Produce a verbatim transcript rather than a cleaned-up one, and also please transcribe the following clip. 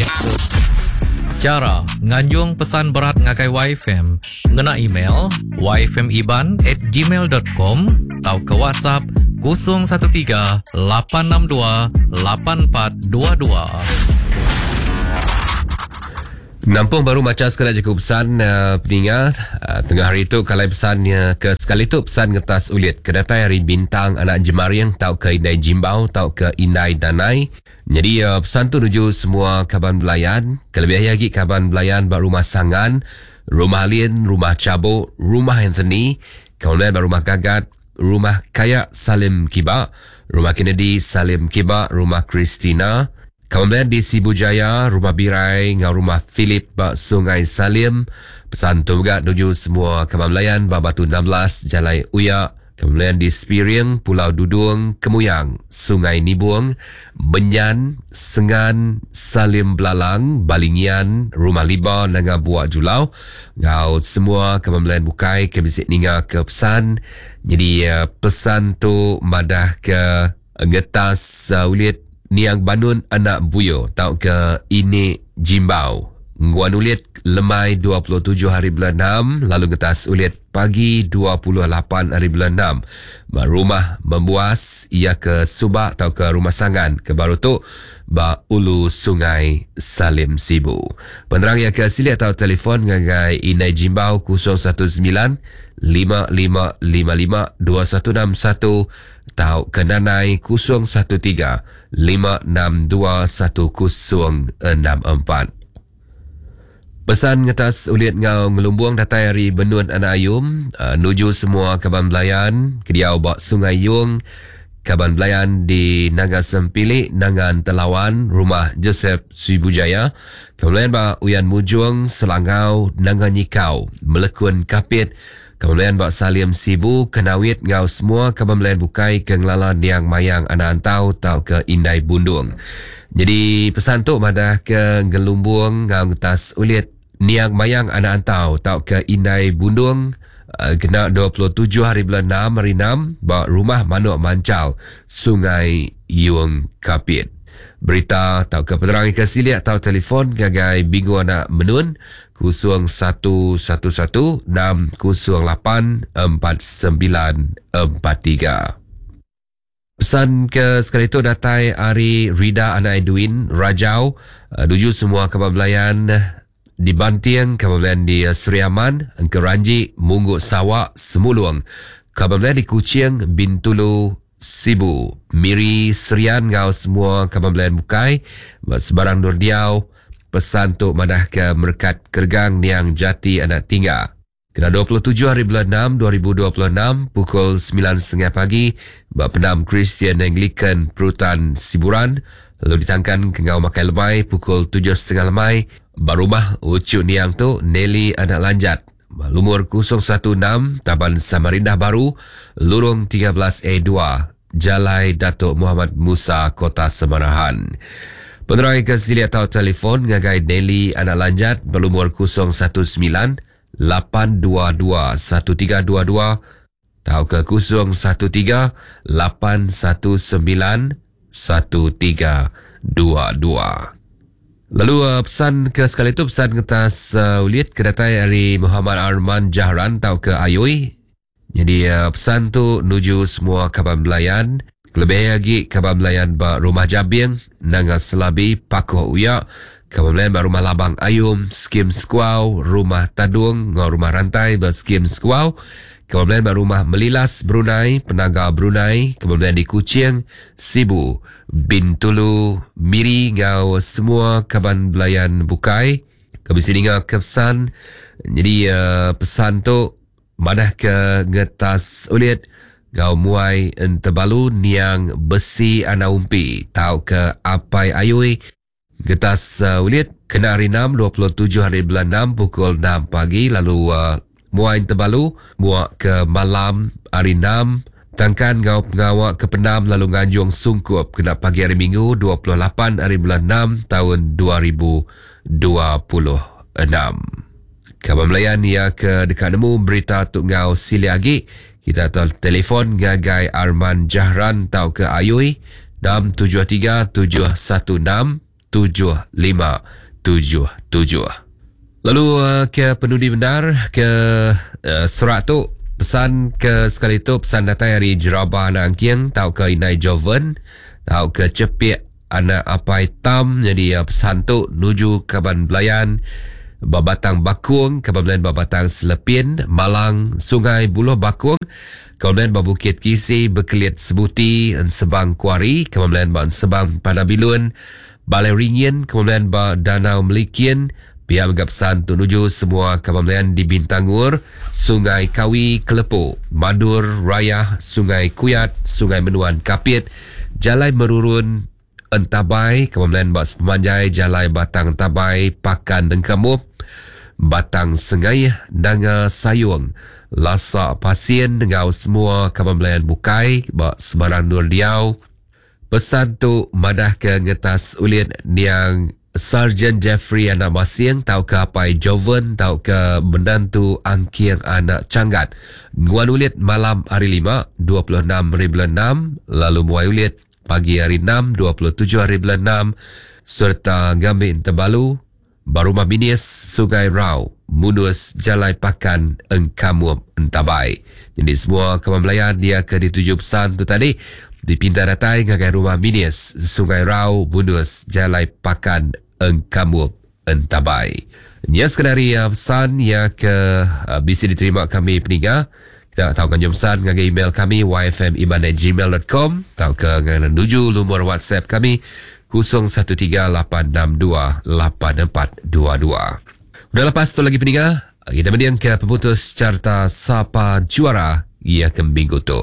Facebook. Chara nganjung pesan berat ngagai Y F M ngena email y f m iban at gmail dot com atau ke WhatsApp kosong satu tiga lapan enam dua lapan empat dua dua. Nampung baru macam sekali cukup pesan uh, peningat uh, tengah hari tu kalau pesan uh, ke sekali tu pesan ngetas ulit ke datai hari bintang anak jemariang tau ke indai jimbau tau ke indai danai. Jadi uh, pesan tu nuju semua kaban belayan, kelebih lagi kaban belayan bak rumah Sangan, rumah Lin, rumah Cabuk, rumah Anthony, kemudian bak rumah Gagat, rumah Kayak Salim Kiba, rumah Kennedy Salim Kiba, rumah Christina, kemudian di Sibu Jaya, rumah Birai ngau rumah Philip bak Sungai Salim. Pesan tu juga nuju semua kaban belayan bak Batu enam belas Jalai Uyak. Kemudian di Spiring, Pulau Dudung, Kemuyang, Sungai Nibung, Menyan, Sengan, Salim Belalang, Balingian, Rumah Liba, Nanga Buak Julau. Ngau semua kebelayan bukai ke bisik ninga ke pesan. Jadi pesan tu madah ke ngetas uh, ulit Niang Banun Anak Buyo tau ke ini Jimbau. Nguan ulit lemai dua puluh tujuh hari bulan enam, lalu ngetas ulit pagi dua puluh lapan hari bulan enam. Rumah membuas ia ke Subak atau ke Rumah Sangan ke baru tu ba Ulu Sungai Salim Sibu. Penerang ia ke sili atau telefon ngagai Inai Jimbau kosong satu sembilan lima lima lima lima dua satu enam satu atau ke Nanai kosong satu tiga lima enam dua satu kosong enam empat. Pesan ngetas ulit ngau ngelumbung datai hari Benun Anak Ayum, uh, nuju semua kaban belayan kediau bak Sungai Yung, kaban belayan di Naga Sempilik, Nangan Telawan, Rumah Joseph Sibujaya, kaban belayan bak Uyan Mujung, Selangau, Nanga Nyikau, Melekun Kapit, kaban belayan bak Salim Sibu, Kenawit ngau semua kaban belayan bukai ke ngelala Niang Mayang Anak Antau tau ke Indai Bundung. Jadi pesan tu madah ke ngelumbung ngau ngetas ulit Niang Mayang Anak Antau tau ke Indai Bundung uh, kena dua puluh tujuh hari bulan enam hari enam ba rumah Manuk Mancal Sungai Yung Kapit. Berita tau ke penerang ke siliak tau telefon gagai Bingu Anak Menun kosong satu satu satu enam kosong lapan empat sembilan empat tiga. Pesan ke sekali tu datai hari Rida Anak Edwin Rajau uh, nuju semua kaban belayan di Bantiang, kaban belayan di Sri Aman, Engkeranji, Mungguk Sawak, Semulung, kaban belayan di Kuching, Bintulu, Sibu, Miri, Serian ngau semua kaban belayan bukai sebarang nur diau. Pesan tu madah ke Merkat Kergang Niang Jati Anak Tingga. Kena dua puluh tujuh hari bulan enam dua ribu dua puluh enam pukul sembilan tiga puluh pagi bak Pendam Kristian Anglican Perutan Siburan, lalu ditangkan ke ngau makai lemai pukul tujuh tiga puluh lemai ba rumah Ucuk Niang tu Nelly Anak Lanjat lumur kosong satu enam Taman Samarindah Baru Lurung tiga belas A dua Jalai Datuk Muhammad Musa Kota Semarahan. Penerang ke sili atau telefon ngagai Nelly Anak Lanjat berlumur kosong satu sembilan lapan dua dua satu tiga dua dua atau ke kosong satu tiga lapan satu sembilan satu tiga dua dua. Lalu uh, pesan ke sekali tu pesan kertas uh, ulit ke datai dari Muhammad Arman Jahran atau ke Ayui. Jadi uh, pesan tu nuju semua kaban belayan, lebih lagi kaban belayan ba Rumah Jabing, Nanga Selabi, Pakoh Uyak, kaban belayan ba Rumah Labang Ayum, Skim Sekuau, Rumah Tadung, ngau Rumah Rantai ba Skim Sekuau, kaban belayan ba Rumah Melilas Brunei, Penaga Brunei, kaban belayan di Kuching, Sibu, Bintulu, Miri ngau semua kaban belayan bukai. Kami sini ngau ke pesan. Jadi uh, pesan tu madah ke ngetas ulit ngau muai entebalu niang besi anak umpi tau ke apai ayui. Getas uh, ulit kena hari enam dua puluh tujuh hari bulan enam pukul enam pagi, lalu uh, muai entebalu muak ke malam hari enam tangkan ngau pengawak ke pendam lalu nganjung sungkup kena pagi hari Minggu dua puluh lapan hari bulan enam tahun dua ribu dua puluh enam. Kaban Melayan ia ke dekat nemu berita tu ngau sili agi. Kita telefon gagai Arman Jahran tau ke Ayui enam tujuh tiga tujuh satu enam tujuh lima tujuh tujuh. Lalu uh, ke penudi benar ke uh, surat tu pesan ke sekali tu pesan datang dari Jeraba anak Angking tau ke Inai Joven tau ke Cepik anak Apai Tam. Jadi uh, pesan tu nuju kaban belayan Babatang Bakung, kaban belayan Babatang Selepin, Malang, Sungai Buloh Bakung, kaban belayan Babukit Kisi, Bekelit Sebuti, Ensebang Kuari, kaban belayan Ba Ensebang Panabilun, Balai Ringin, kaban belayan Ba Danau Melikin. Pihak menganggap pesan untuk menuju semua kaban belayan di Bintangur, Sungai Kawi, Kelepu, Madur, Raya, Sungai Kuyat, Sungai Menuan, Kapit, Jalai Merurun, Entabai, kaban belayan Bak Sepemanjai, Jalai Batang Entabai, Pakan Dengkamup, Batang Sengai, Nanga Sayung, Lasa Pasien dengan semua kaban belayan Bukai, Bak Sebarang Nur Liau. Pesan tu madah ke ngetas ulin niang Sarjan Jeffrey anak Masing tau ke Apai Joven tau ke menantu Angking anak Canggat. Nguan ulit malam hari lima, dua puluh enam hari bulan enam, lalu muai ulit pagi hari enam, dua puluh tujuh hari bulan enam, serta ngambil terbalu Barumah Minis Sungai Rau, Munus Jalai Pakan Engkamup Entabai. Jadi semua kawan belayan dia ke dituju pesan tu tadi dipinta datai ngagai rumah Minis Sungai Rau, Munus Jalai Pakan Engkamup Entabai. Ini sekadar uh, pesan yang ke uh, bisa diterima kami peninggal. Kita tahu kan pesan ngagai email kami y f m iban at gmail dot com atau ke menuju nomor WhatsApp kami kosong satu tiga lapan enam dua lapan empat dua dua. Udah lepas tu lagi peninggal, kita mendiang ke pemutus carta Sapa Juara ia ke minggu tu.